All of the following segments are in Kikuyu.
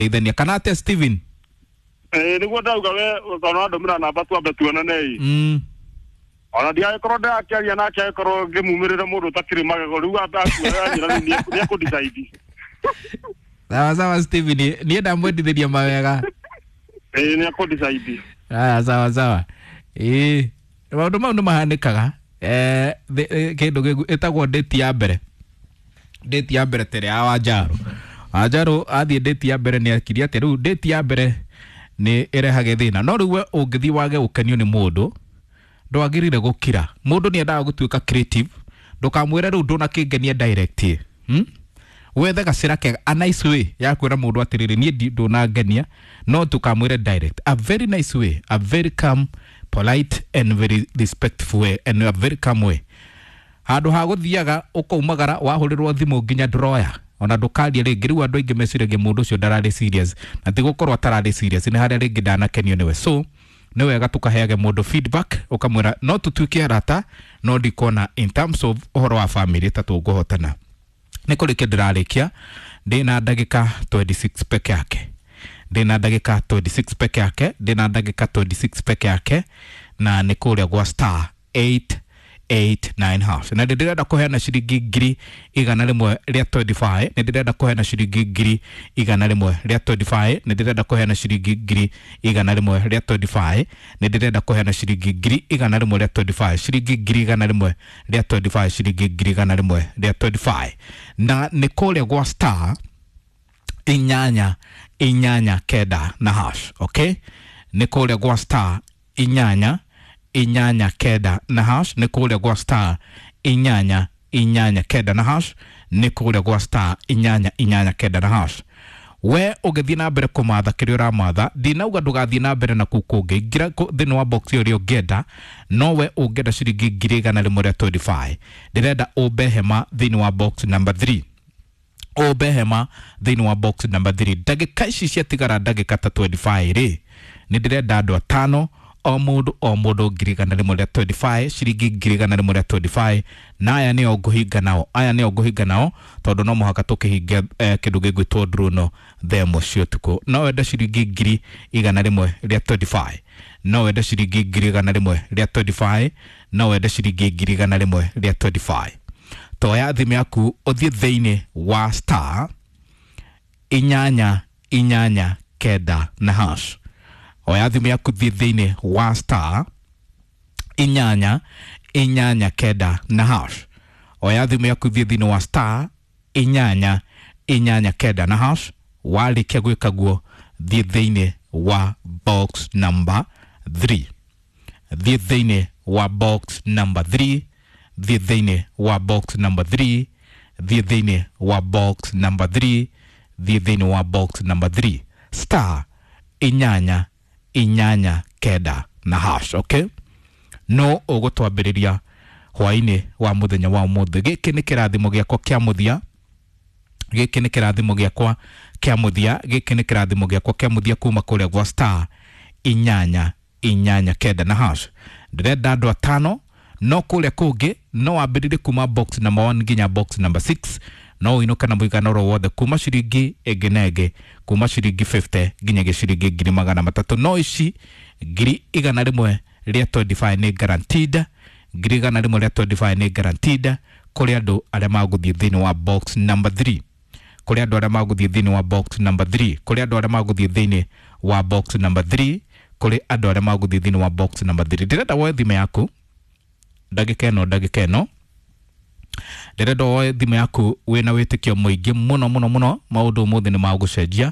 Ithania kana atia, Steven? Ĩĩ, nĩguo ndauga we tondũ wandũmĩra namba twambe tuonane ĩ. Ona ndiagĩkorwo ndĩrakĩaria nake, agĩkorwo ngĩmumĩrĩre mũndũ ũtakĩrĩ magego rĩu akuanjĩra rĩu nĩekũdecide. Sawa sawa, Steven, niĩ ndamwendithĩria mawega. Ĩĩ, nĩekũdecide. Aya, sawa sawa. Ĩĩ, maũndũ mau nĩ mahanĩkaga. Kĩndũ ĩtagwo date ya mbere, date ya mbere tere ya Wanjaru. Wanjaru athiĩ date ya mbere nĩ akirie atĩ rĩu date ya mbere nĩ ĩrehage thĩna, no rĩu we ũngĩthiĩ wage gũkenio nĩ mũndũ, ndwagĩrĩire gũkira. Mũndũ nĩ endaga gũtuĩka creative. Ndũkamwĩre rĩu ndũnakĩngenia direct, Wethe gacĩra kega, a nice way ya kwĩra mũndũ atĩrĩrĩ, niĩ ndũnangenia. No ndũkamwĩre direct. A very nice way, a very calm, polite and very respectful way and a very calm way. Handũ ha gũthiaga ũkaumagara wahũrĩrwo thimũ nginya ndũroya ona ndũkaria rĩngĩ. Rĩu andũ aingĩ meciragia mũndũ ũcio ndararĩ serious, na ti gũkorwo atararĩ serious, nĩ harĩa rĩngĩ ndanakenio nĩwe. So nĩ wega tũkaheage mũndũ feedback, ũkamwĩra no tũtuĩke arata, no ndikuona in terms of ũhoro wa family ta tũngũhotana. Nĩ kũrĩkia ndĩrarĩkia, ndĩna ndagĩka 26 peke yake, ndĩna ndagĩka 26 peke yake, ndĩna ndagĩka 26 peke yake, na nĩ kũrĩa gwa star 889 hash. Na ndĩrenda kũheana ciringi 125,000, nĩ ndĩrenda kũheana ciringi 125,000, nĩ ndĩrenda kũheana ciringi 125,000, nĩ ndĩrenda kũheana ciringi 125,000, ciringi 125,000, ciringi 125,000, na nĩ kũrĩa gwa star 889 na hash. Okay, nĩ kũrĩa gwa star 889 na hash, nĩ kũrĩa gwa star 889 na hash, nĩ kũrĩa gwa star 889 na hash. We ũgĩthiĩ na mbere kũmatha kĩrĩa ũramatha, ndinauga ndũgathiĩ na mbere na kũu kũngĩ. Ingĩra thĩinĩ wa box ĩrĩa ũngĩenda, no we ũngĩenda ciringi 125,000, ndĩrenda ũmbe hema thĩinĩ wa box number 3, ũmbe hema thĩinĩ wa box number 3. Ndagĩka ici ciatigara, ndagĩka ta 25 rĩ, nĩ ndĩrenda andũ atano, o mũndũ o mũndũ 125,000, ciringi 125,000. Na aya nĩo ngũhinga nao, aya nĩo ngũhinga nao, tondũ no mũhaka tũkĩhinge kĩndũ gĩgwĩtwo ndruno thaa 1 cia ũtukũ. No wende ciringi 125,000, no wende ciringi 125,000, no wende ciringi 125,000. Toya thimũ yaku ũthiĩ thĩinĩ wa star 889 na hash. Oya thimũ yaku, thiĩ thĩinĩ wa star 889 na hash. Oya thimũ yaku, thiĩ thĩinĩ wa star 889 na hash. Warĩkia gwĩka guo, thiĩ thĩinĩ wa box number 3, thiĩ thĩinĩ wa box number 3, thiĩ thĩinĩ wa box number 3, thiĩ thĩinĩ wa box number 3, thiĩ thĩinĩ wa box number 3, star 889 na hash. Okay, no ũgũtwambĩrĩria hwaĩ-inĩ wa mũthenya wa ũmũthĩ. Gĩkĩ nĩ kĩrathimo gĩakwa kĩa mũthia, gĩkĩ nĩ kĩrathimo gĩakwa kĩa mũthia, gĩkĩ nĩ kĩrathimo gĩakwa kĩa mũthia kuma kũrĩa gwa star 889 na hash. Ndĩrenda andũ atano, no kũrĩa kũngĩ no wambĩrĩrie kuma box number 1 nginya box number 6. No ũinũke na mũigana oro wothe kuma ciringi ĩngĩ na ĩngĩ, kuma ciringi 50 nginyagia ciringi 300,000. No ici 125,000 nĩ guaranteed, 125,000 nĩ guaranteed kũrĩ andũ arĩa magũthiĩ thĩinĩ wa box number 3, kũrĩ andũ arĩa magũthiĩ thĩinĩ wa box number 3, kũrĩ andũ arĩa magũthiĩ thĩinĩ wa box number 3, kũrĩ andũ arĩa magũthiĩ thĩinĩ wa box number 3. Ndĩrenda woe thimũ yaku ndagĩka ĩno, ndagĩka ĩno ndĩrenda woe thimũ yaku wĩna wĩtĩkio mũingĩ mũno mũno mũno. Maũndũ ũmũthĩ nĩ magũcenjia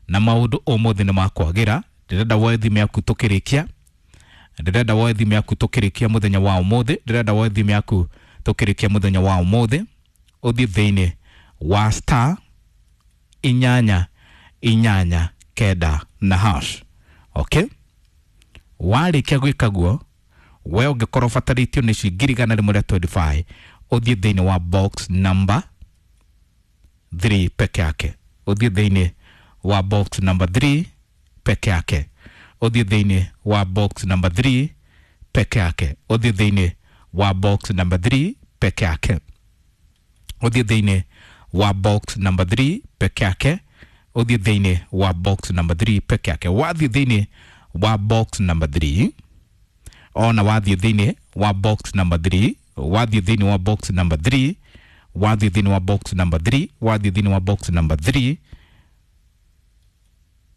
na maũndũ ũmũthĩ nĩ makwagĩra. Ndĩrenda woe thimũ yaku tũkĩrĩkia, ndĩrenda woe thimũ yaku tũkĩrĩkia mũthenya wa ũmũthĩ, ndĩrenda woe thimũ yaku tũkĩrĩkia mũthenya wa ũmũthĩ, ũthiĩ thĩinĩ wa star 889 na hash. Okay, warĩkia gwĩka guo, we ũngĩkorwo ũbatarĩtio nĩ ici 125,000, ũthiĩ thĩinĩ wa box number 3 peke yake, ũthiĩ thĩinĩ wa box number 3 peke yake, ũthiĩ thĩinĩ wa box number 3 peke yake, ũthiĩ thĩinĩ wa box number 3 peke yake, ũthiĩ thĩinĩ wa box number 3 peke yake. Ũthiĩ thĩinĩ wa box number 3 peke yake. Wathiĩ thĩinĩ wa box number 3, ona wathiĩ thĩinĩ wa box number 3, wathiĩ thĩinĩ wa box number 3, wathiĩ thĩinĩ wa box number 3, wathiĩ thĩinĩ wa box number 3,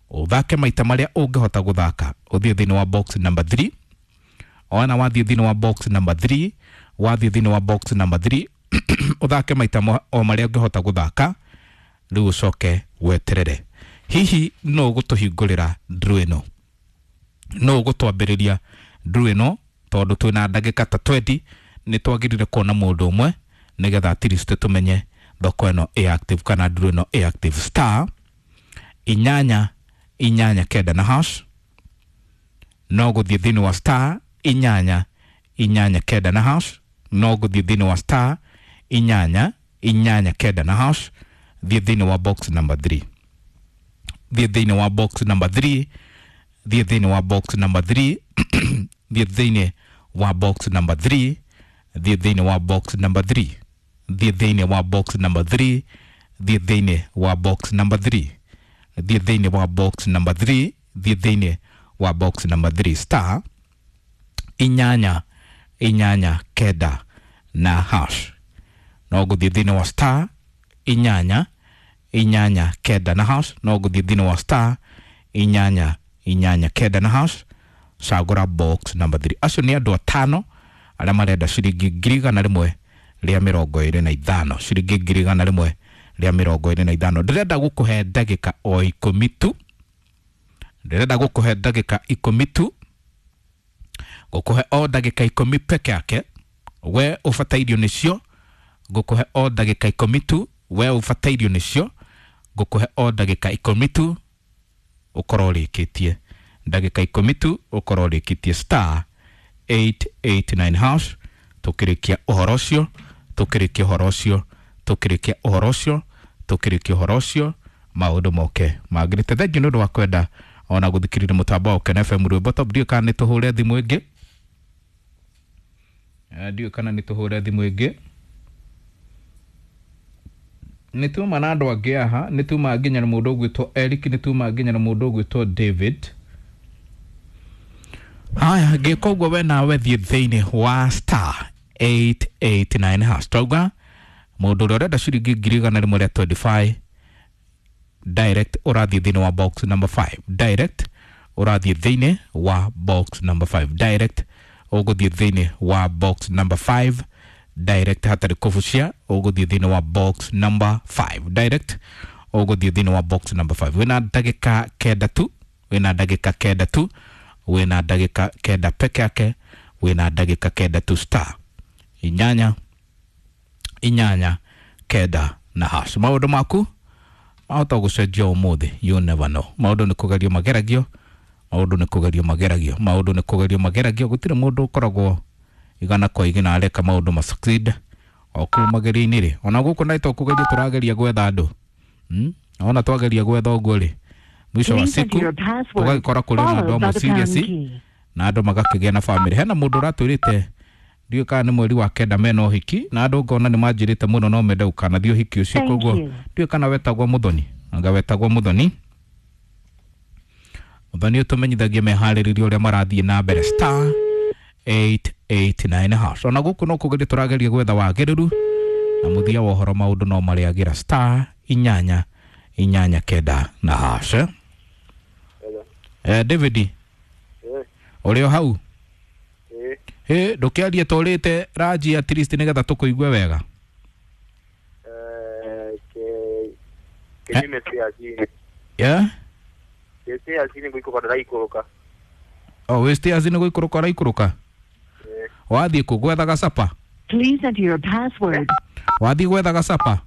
ũthake maita marĩa ũngĩhota gũthaka. Ũthiĩ thĩinĩ wa box number 3, ona wathiĩ thĩinĩ wa box number 3, wathiĩ thĩinĩ wa box number 3, ũthake maita o marĩa ũngĩhota gũthaka. Rĩu ũcoke weterere hihi no ũgũtũhingũrĩra draw ĩno, no ũgũtwambĩrĩria draw ĩno, tondũ twĩna ndagĩka ta 20. Nĩ twagĩrĩire kuona mũndũ ũmwe nĩgetha at least tũmenye thoko ĩno ĩ active kana draw ĩno ĩ active. Star 8 8 9 na hash. No gũthiĩ thĩinĩ wa star 8 8 9 na hash. No gũthiĩ thĩinĩ wa star 8 8 9 na hash. Thiĩ thĩinĩ wa box number 3, thiĩ thĩinĩ wa box number 3, thiĩ thĩinĩ wa box number 3, thiĩ thĩinĩ wa box number 3, thiĩ thĩinĩ wa box number 3, thiĩ thĩinĩ wa box number 3, thiĩ thĩinĩ wa box number 3, thiĩ thĩinĩ wa box number 3, thiĩ thĩinĩ wa box number 3, star 8 8 9 na hash. No gũthiĩ thĩinĩ wa star 8 8 9 na hash. No gũthiĩ thĩinĩ wa star 8 8 9 na hash. Cagũra box number 3. Acio nĩ andũ atano arĩa marenda ciringi 125,000, ciringi 125,000. Ndĩrenda gũkũhe ndagĩka o 10 tu, ndĩrenda gũkũhe ndagĩka 10 tu, gũkũhe o ndagĩka 10 peke yake. We ũbatairio nĩcio, ngũkũhe o ndagĩka 10 tu. We ũbatairio nĩcio, ngũkũhe o ndagĩka 10 tu, ũkorwo ũrĩkĩtie. Ndagĩka 10 tu, ũkorwo ũrĩkĩtie. Star 889 hash. Tũkĩrĩkia ũhoro ũcio, tũkĩrĩkia ũhoro ũcio, tũkĩrĩkia ũhoro ũcio, tũkĩrĩkia ũhoro ũcio, maũndũ moke magĩrĩte. Thengiũ nĩ ũndũ wa kwenda ona gũthikĩrĩria mũtambo wa Ũkena FM rwĩmbo top. Ndiũĩ kana nĩ tũhũre thimũ ĩngĩ. Ndiũĩ kana nĩ tũhũre thimũ ĩngĩ. Nĩ tuma na andũ angĩ aha, nĩ tuma nginya na mũndũ ũgwĩtwo Eric, nĩ tuma nginya na mũndũ ũgwĩtwo David. Haya, ngĩka ũguo we nawe thiĩ thĩinĩ wa star 889 hash. Twauga mũndũ ũrĩa ũrenda ciringi 125,000 direct ũrathiĩ thĩinĩ wa box number 5, direct ũrathiĩ thĩinĩ wa box number 5, direct ũgũthiĩ thĩinĩ wa box number 5, direct hatarĩ kũbucia, ũgũthiĩ thĩinĩ wa box number 5, direct ũgũthiĩ thĩinĩ wa box number 5. Wĩna ndagĩka 9 tu, wĩna ndagĩka 9 tu, wĩna ndagĩka 9 peke yake, wĩna ndagĩka 9 tu. Star 8 8 9 na hash. Maũndũ maku mahota gũcenjia ũmũthĩ, you never know. Maũndũ nĩ kũgerio mageragio, maũndũ nĩ kũgerio mageragio, maũndũ nĩ kũgerio mageragio. Gũtirĩ mũndũ ũkoragwo igana kwa igana areka maũndũ ma succeed o kũu magerio-inĩ rĩ. Ona gũkũ na to kũgeria tũrageria gwetha andũ, ona twageria gwetha ũguo rĩ, mwisho wa Please enter siku your password tũgagĩkora kũrĩ na andũ followed by amwe the serious pound key. na andũ magakĩgĩa na family. Hena mũndũ ũratwĩrĩte ndiũĩ kana nĩ mweri wa 9 mena ũhiki, na andũ ngona nĩ manjĩrĩte mũno no mende gũkanathiĩ ũhiki ũcio. Thank Koguo you. ndiũĩ kana wetagwo Mũthoni, anga wetagwo Mũthoni. Mũthoni ũtũmenyithagie meharĩrĩrio ũrĩa marathiĩ na mbere. Star 889 hash. Ona gũkũ no kũgeria tũrageria gwetha wagĩrĩru, na mũthia wa ũhoro maũndũ no marĩagĩra. Star 8 8 9 na hash. David, ũrĩ o hau? Ĩ ndũkĩarie tũrĩte ranji at least nĩgetha tũkũigue wega. Kinyume cia chini. Yeah? Cia chini gũikũrũka ndĩraikũrũka. O wĩ stairs nĩ gũikũrũka ũraikũrũka? Wathiĩ kũ gwethaga capa? Please enter your password. Wathiĩ gwethaga capa?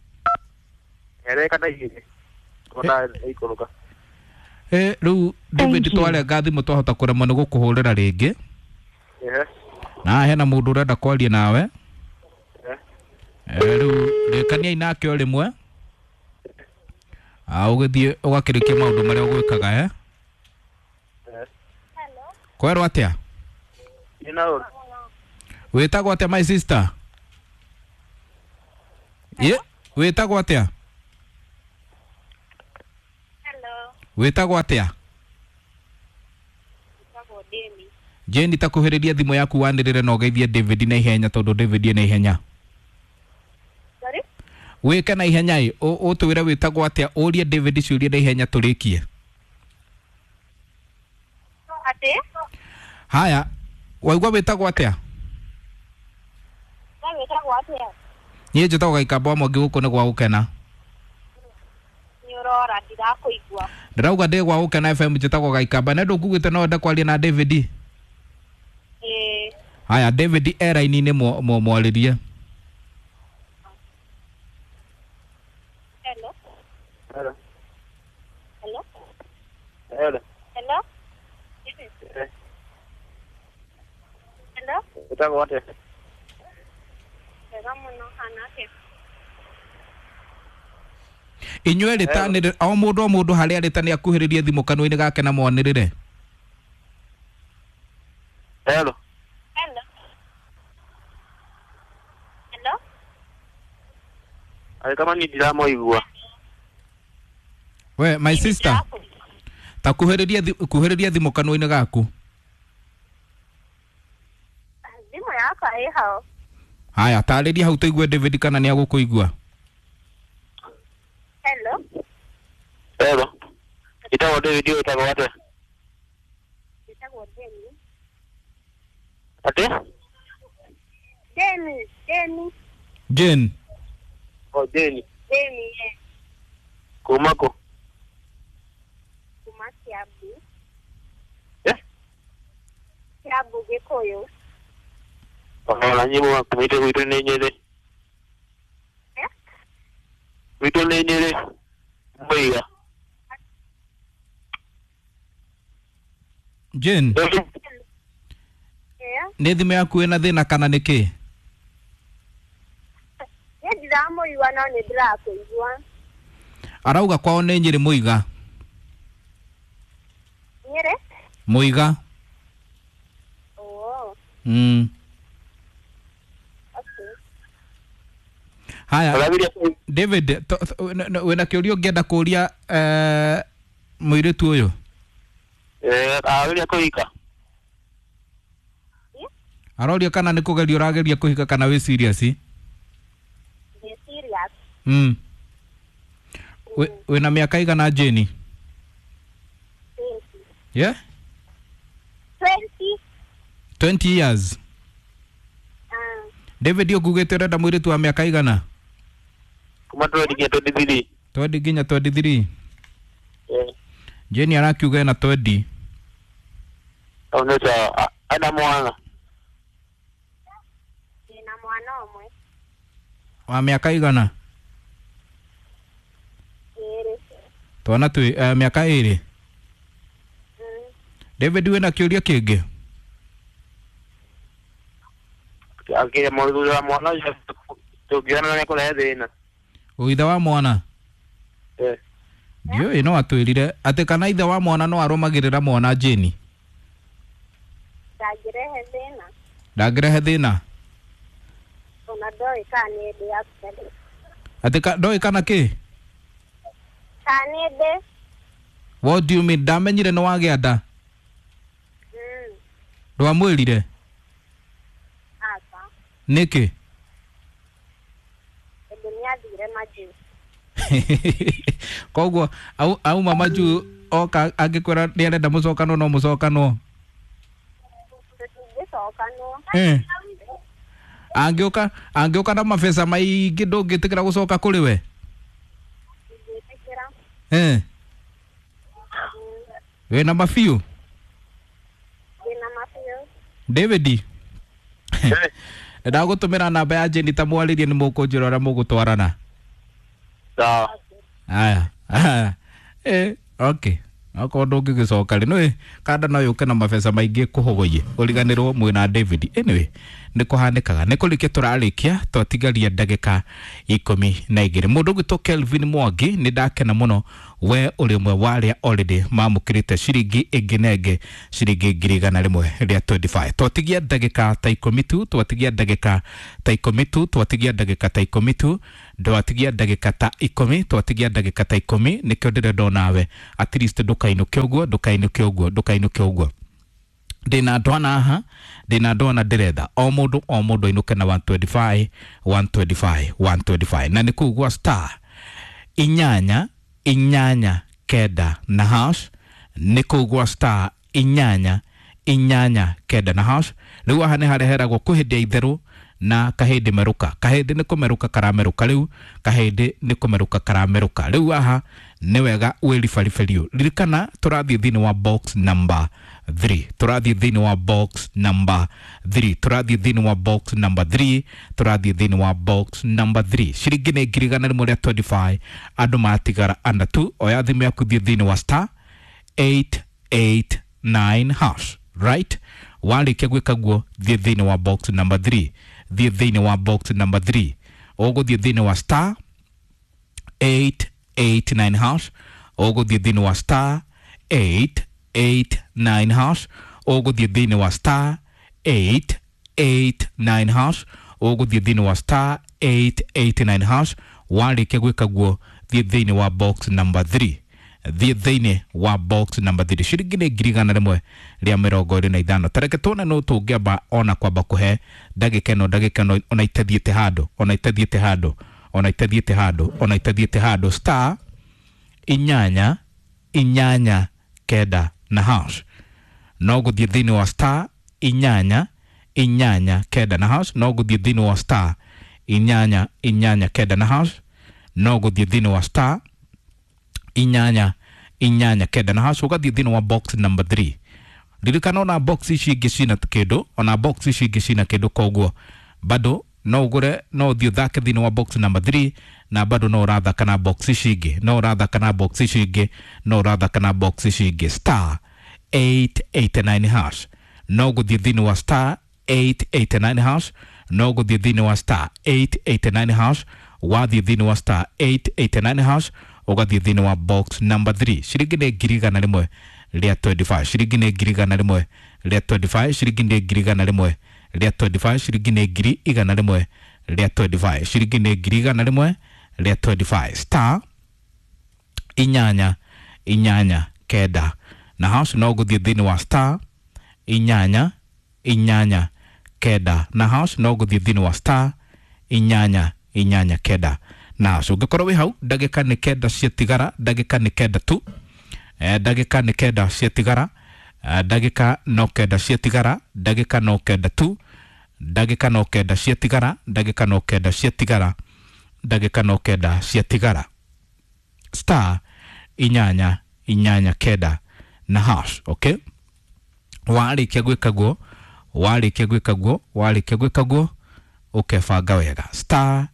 Ereka na igĩrĩ. Kona ikũrũka. Rĩu David, Thank you. twarenga thimũ twahota kũremwo nĩ gũkũhũrĩra rĩngĩ. Ehe. Na hena mũndũ ũrenda kwaria nawe. Rĩu rĩkaniai nake o rĩmwe. Ũgĩthiĩ ũgakĩrĩkia maũndũ marĩa ũgwĩkaga. Kwerwo atĩa? Ina ũru. Wĩtagwo atĩa, my sister? Ye, wĩtagwo atĩa? Wĩtagwo atĩa? Wĩtagwo Demi. Jane, takuhĩrĩria thimũ yaku wanĩrĩre na ũgeithie David na ihenya tondũ David na ihenya. Sorry? Wĩke na ihenya ĩ, ũtwĩre wĩtagwo atĩa, ũrie David ciũria na ihenya tũrĩkie. Atĩ? Haya, waigua wĩtagwo atĩa? We wĩtagwo atĩa? Niĩ njĩtagwo Gaikamba wa Mwangi, gũkũ nĩ gwa gũkena. Nĩ ũrora ndirakũigua. Ndĩrauga ndĩ gwa gũkena FM, njĩtagwo Gaikamba. Na ndũkugĩte no wende kwaria na David? Ĩĩ. Haya, David e raini-inĩ, mwarĩrie. Hello? Hello. Hello? Hello. Hello? Eh. Hello? Wĩtagwo atĩa? Wega mũno, hana atĩa? Inyuĩ rĩtanĩrĩre o mũndũ harĩa arĩ ta nĩ akuhĩrĩrie thimũ kanua-inĩ gake na mwanĩrĩre. Hello. Hello? Hello? Arĩ kama niĩ ndiramũigua. We my sister, ta kuhĩrĩria thimũ kanua-inĩ gaku. Thimũ yakwa ĩ hau. Haya, tarĩria hau tũigue David kana nĩ agũkũigua. Hello? Hello. Njĩtagwo David, wĩtagwo atĩa? Wĩtagwo Demi. Atĩ? Demi, Demi. Jane. O Jane. Demi, eh. Kuma kũ? Kuma Kiambu. Eh? Kiambu Gĩkũyũ. Ona nyimbo kumĩte gwitũ nĩ Nyĩrĩ. Eh? Gwitũ nĩ Nyĩrĩ. Mũiga. Jane, Yeah. nĩ thimũ yaku ĩna thĩna kana nĩ kĩ? Niĩ ndiramũigua no nĩ ndĩrakũigua. Arauga kwao nĩ Nyĩrĩ Mũiga. Nyĩrĩ? Mũiga. Oh, okay. Haya, Ũrabiria David, wĩna kĩũria ũngĩenda kũria mũirĩtu ũyũ? Arageria kũhika. Aroria kana nĩ kũgeria ũrageria kũhika kana wĩ serious? Ndĩ serious. Wĩna mĩaka igana Jane? 20. Yeah? 20. 20 years. David, ũkugĩte ũrenda mũirĩtu wa mĩaka igana? Kuma 20 nginya 23. 20 nginya 23. Eh. Jane arakiuga ena 20. Au nĩ sawa. Ana mwana. Ndĩna mwana ũmwe. Wa mĩaka igana? Ĩĩrĩ. Twana twĩ mĩaka ĩrĩ. David, wĩna kĩũria kĩngĩ? Akĩrĩa mũthuri wa mwana ũcio tũngĩonana nĩ kũrehe thĩna. Ithe wa mwana? Eh. Ndiũĩ, no atwĩrire atĩ kana ithe wa mwana no arũmagĩrĩra mwana Jane. Ndangĩrehe thĩna. Ndangĩrehe thĩna. Ona ndoĩ kana nĩ ndĩ actually. Atĩ ndoĩ kana kĩ? Kana nĩ ndĩ. What do you mean? Ndamenyire nĩ wagĩa nda. Ndwamwĩrire? Aca. Nĩkĩ? Tondũ nĩ athire majuu. Koguo auma majuu oka angĩkwĩra nĩ arenda mũcokanwo no mũcokanwo. Tũtingĩcokanwo. Angĩũka na mabeca maingĩ ndũngĩtĩkĩra gũcoka kũrĩ we? Ndingĩtĩkĩra. Wĩna mabiũ? Ndĩna mabiũ. David, ndagũtũmĩra namba ya Jane ta mwarĩrie nĩ mũkũnjĩra ũrĩa mũgũtwarana. Sawa. Haya. Okay. Okorwo ndũngĩgĩcoka rĩ, nĩũĩ kanda no yũke na mabeca maingĩ kũhogoie ũriganĩrwo mwĩna David. Anyway, nĩ kũhanĩkaga. Nĩ kũrĩkia tũrarĩkia, twatigaria ndagĩka 12. Mũndũ ũgwĩtwo Kelvin Mwangi, nĩ ndakena mũno We ũrĩ ũmwe wa arĩa already mamũkĩrĩte ciringi ĩngĩ na ĩngĩ ciringi 125,000. Twatigia ndagĩka ta 10 tu, twatigia ndagĩka ta 10 tu, twatigia ndagĩka ta 10 tu, ndwatigia ndagĩka ta 10, twatigia ndagĩka ta 10. Nĩkĩo ndĩrenda onawe at least ndũkainũke ũguo, ndũkainũke ũguo, ndũkainũke ũguo. Ndĩna andũ ana haha, ndĩna andũ ana ndĩretha o mũndũ o mũndũ ainũke na 125 125 125, na nĩ kũu gwa star 8 8 9 na hash, nĩ kũu gwa star 8 8 9 na hash. Rĩu haha nĩ hareheragwo kwĩ hĩndĩ ya itherũ na kahĩndĩ merũka, kahĩndĩ nĩ kũmerũka karamerũka rĩu, kahĩndĩ nĩ kũmerũka karamerũka rĩu. Haha nĩ wega wĩribaribĩrio. Ririkana tũrathiĩ thĩinĩ wa box number 3, tũrathiĩ thĩinĩ wa box number 3, tũrathiĩ thĩinĩ wa box number 3, tũrathiĩ thĩinĩ wa box number 3. Ciringi nĩ 125,000, andũ matigara ana tu. Oya thimũ yaku thiĩ thĩinĩ wa star 889 hash, right? Warĩkia gwĩka guo thiĩ thĩinĩ wa box number 3, thiĩ thĩinĩ wa box number 3, ũgũthiĩ thĩinĩ wa star 889 hash, ũgũthiĩ thĩinĩ wa star 889 hash, ũgũthiĩ thĩinĩ wa star 889 hash, ũgũthiĩ thĩinĩ wa star 889 hash. Warĩkia gwĩka guo thiĩ thĩinĩ wa box number 3, thiĩ thĩinĩ wa box number 3. Ciringi nĩ 125,000. Tareke tuone no tũngĩamba ona kwamba kũhe ndagĩka ĩno, ndagĩka ĩno ona itathiĩte handũ, ona itathiĩte handũ, ona itathiĩte handũ, ona itathiĩte handũ. Star 8 8 9 na hash, no gũthiĩ thĩinĩ wa star 8 8 9 na hash, no gũthiĩ thĩinĩ wa star 8 8 9 na hash, no gũthiĩ thĩinĩ wa star 8 8 9 na hash, ũgathiĩ thĩinĩ wa box number 3. Ririkana ona box ici ingĩ cina kĩndũ, ona box ici ingĩ cina kĩndũ, koguo bado no ũgũre, no ũthiĩ ũthake thĩinĩ wa box number 3, na bado no ũrathaka na box ici ingĩ, no ũrathaka na box ici ingĩ, no ũrathaka na box ici ingĩ. Star 889 hash, no gũthiĩ thĩinĩ wa star 889 hash, no gũthiĩ thĩinĩ wa star 889 hash. Wathiĩ thĩinĩ wa star 889 hash, ũgathiĩ thĩinĩ wa box number 3. Ciringi nĩ 125,000, ciringi nĩ 125,000, ciringi nĩ 125,000, ciringi nĩ 125,000, ciringi nĩ 125,000. Star 8 8 9 na hash, no gũthiĩ thĩinĩ wa star 8 8 9 na hash, no gũthiĩ thĩinĩ wa star 8 8 9 na hash. Ũngĩkorwo wĩ hau ndagĩka nĩ 9 ciatigara, ndagĩka nĩ 9 tu, ndagĩka nĩ 9 ciatigara, ndagĩka no 9 ciatigara, ndagĩka no 9 tu, ndagĩka no 9 ciatigara, ndagĩka no 9 ciatigara, ndagĩka no 9 ciatigara. Star 8 8 9 na hash. Okay, warĩkia gwĩka guo, warĩkia gwĩka guo, warĩkia gwĩka guo, ũkebanga wega. Star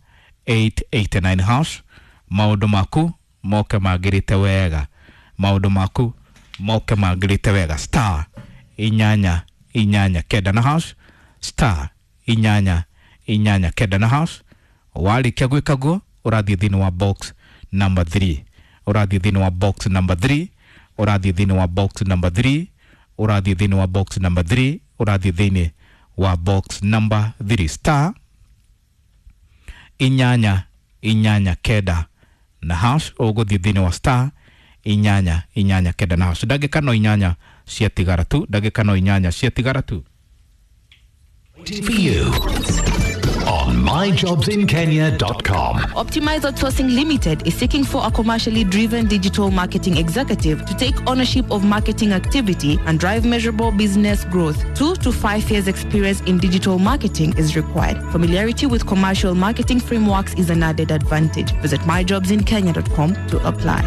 889 hash, maũndũ maku moke magĩrĩte wega, maũndũ maku moke magĩrĩte wega. Star 8 8 9 na hash, star 8 8 9 na hash. Warĩkia gwĩka guo ũrathiĩ thĩinĩ wa box number 3, ũrathiĩ thĩinĩ wa box number 3, ũrathiĩ thĩinĩ wa box number 3, ũrathiĩ thĩinĩ wa box number 3, ũrathiĩ thĩinĩ wa box number 3. Star 8 8 9 na hash, ũgũthiĩ thĩinĩ wa star 8 8 9 na hash. Ndagĩka no 8 ciatigara tu, ndagĩka no 8 ciatigara tu. For you on myjobsinkenya.com. Optimize Outsourcing Limited is seeking for a commercially driven digital marketing executive to take ownership of marketing activity and drive measurable business growth. 2 to 5 years experience in digital marketing is required. Familiarity with commercial marketing frameworks is an added advantage. Visit myjobsinkenya.com to apply.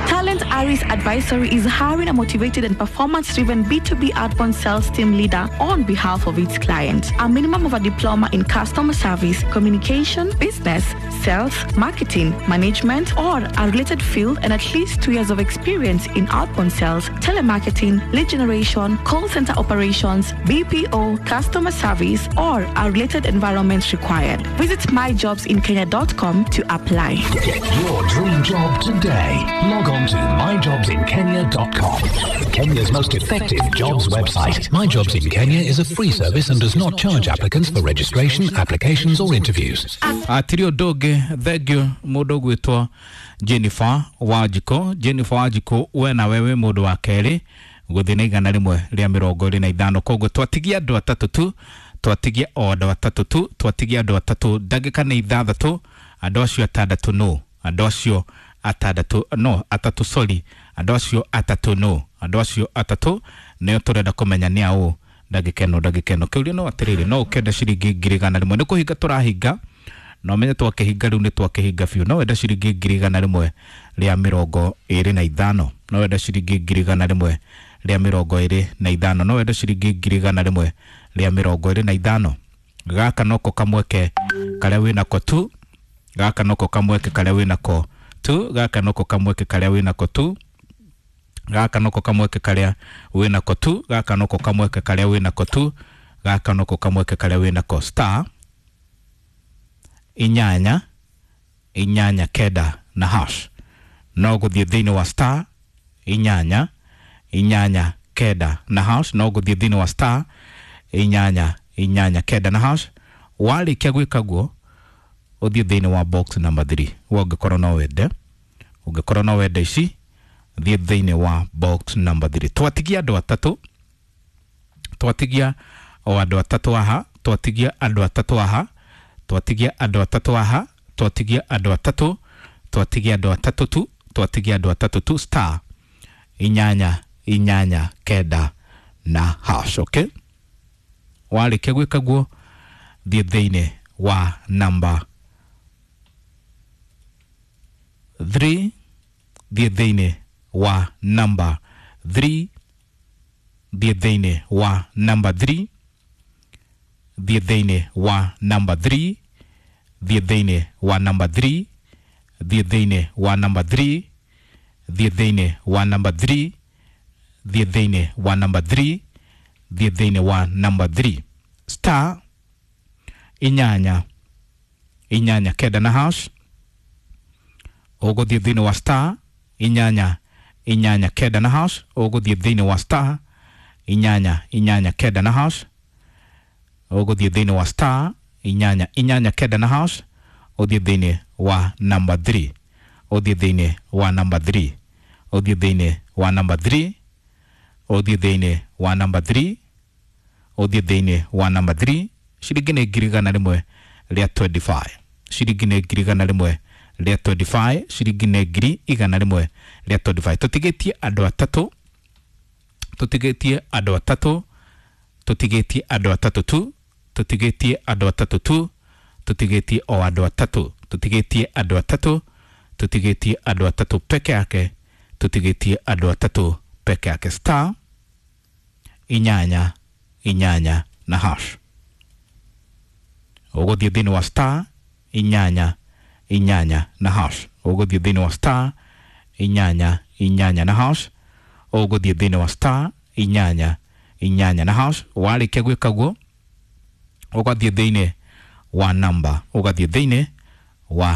Talent Aris Advisory is hiring a motivated and performance-driven B2B outbound sales team leader on behalf of its clients. A minimum of a diploma in customer service service, communication, business, sales, marketing, management, or a related field, and at least 2 years of experience in outbound sales, telemarketing, lead generation, call center operations, BPO, customer service, or a related environment required. Visit myjobsinkenya.com to apply. Get your dream job today. Log on to myjobsinkenya.com. Kenya's most effective jobs website. My Jobs in Kenya is a free service and does not charge applicants for registration, applications, or interviews. Atiri ũndũ ũngĩ, thengio mũndũ ũgwĩtwo Jennifer Wanjikũ. Jennifer Wanjikũ, we nawe wĩ mũndũ wa kerĩ gũthiĩ na 125. Koguo twatigia andũ atatũ tu, twatigia o andũ atatũ tu, twatigia andũ atatũ, ndagĩka nĩ 6. Andũ acio atandatũ no, andũ acio atandatũ no, atatũ, sorry, andũ acio atatũ no, andũ acio atatũ nĩo tũrenda kũmenya nĩ aũ. Ndagĩka ĩno, ndagĩka ĩno kĩũria no atĩrĩrĩ, no ũkĩenda ciringi 100,000? Nĩ kũhinga tũrahinga, na ũmenye twakĩhinga rĩu nĩ twakĩhinga biũ. No wenda ciringi 125,000? No wenda ciringi 125,000? No wenda ciringi 125,000? Gaka noko kamweke karĩa wĩnako tu, gaka noko kamweke karĩa wĩnako tu, gaka noko kamweke karĩa wĩnako tu, gaka noko kamweke karĩa wĩnako tu, gaka noko kamweke karĩa wĩnako tu, gaka noko kamweke karĩa wĩnako. Star 8 8 9 na hash. No gũthiĩ thĩinĩ wa star 8 8 9 na hash, no gũthiĩ thĩinĩ wa star 8 8 9 na hash. Warĩkia gwĩka guo, ũthiĩ thĩinĩ wa box number 3. We ũngĩkorwo no wende, ũngĩkorwo no wende ici, thiĩ thĩinĩ wa box number 3. Twatigia andũ atatũ, twatigia o andũ atatũ haha, twatigia andũ atatũ haha, twatigia andũ atatũ haha, twatigia andũ atatũ, twatigia andũ atatũ tu, twatigia andũ atatũ tu. Star 8 8 9 na hash. Okay, warĩkia gwĩka guo, thiĩ thĩinĩ wa number 3, thiĩ thĩinĩ wa number 3, thiĩ thĩinĩ wa number 3, thiĩ thĩinĩ wa number 3, thiĩ thĩinĩ wa number 3, thiĩ thĩinĩ wa number 3, thiĩ thĩinĩ wa number 3, thiĩ thĩinĩ wa number 3, thiĩ thĩinĩ wa number 3. Star 8 8 9 na hash. Ũgũthiĩ thĩinĩ wa star 8 8 9 na hash, ũgũthiĩ thĩinĩ wa star 8 8 9 na hash, ũgũthiĩ thĩinĩ wa star 8 8 9 na hash, ũthiĩ thĩinĩ wa number 3, ũthiĩ thĩinĩ wa number 3, ũthiĩ thĩinĩ wa number 3, ũthiĩ thĩinĩ wa number 3, ũthiĩ thĩinĩ wa number 3. Ciringi nĩ 125,000, ciringi nĩ 125,000, ciringi nĩ 125,000. Tũtigĩtie andũ atatũ, tũtigĩtie andũ atatũ, tũtigĩtie andũ atatũ tu, tũtigĩtie andũ atatũ tu, tũtigĩtie o andũ atatũ, tũtigĩtie andũ atatũ, tũtigĩtie andũ atatũ peke yake, tũtigĩtie andũ atatũ peke yake. Star 8 8 na hash. Ũgũthiĩ thĩinĩ wa star 8 8 na hash, ũgũthiĩ thĩinĩ wa star 8 8 na hash, ũgũthiĩ thĩinĩ wa star 8 8 na hash. Warĩkia gwĩka guo, ũgathiĩ thĩinĩ wa number, ũgathiĩ thĩinĩ wa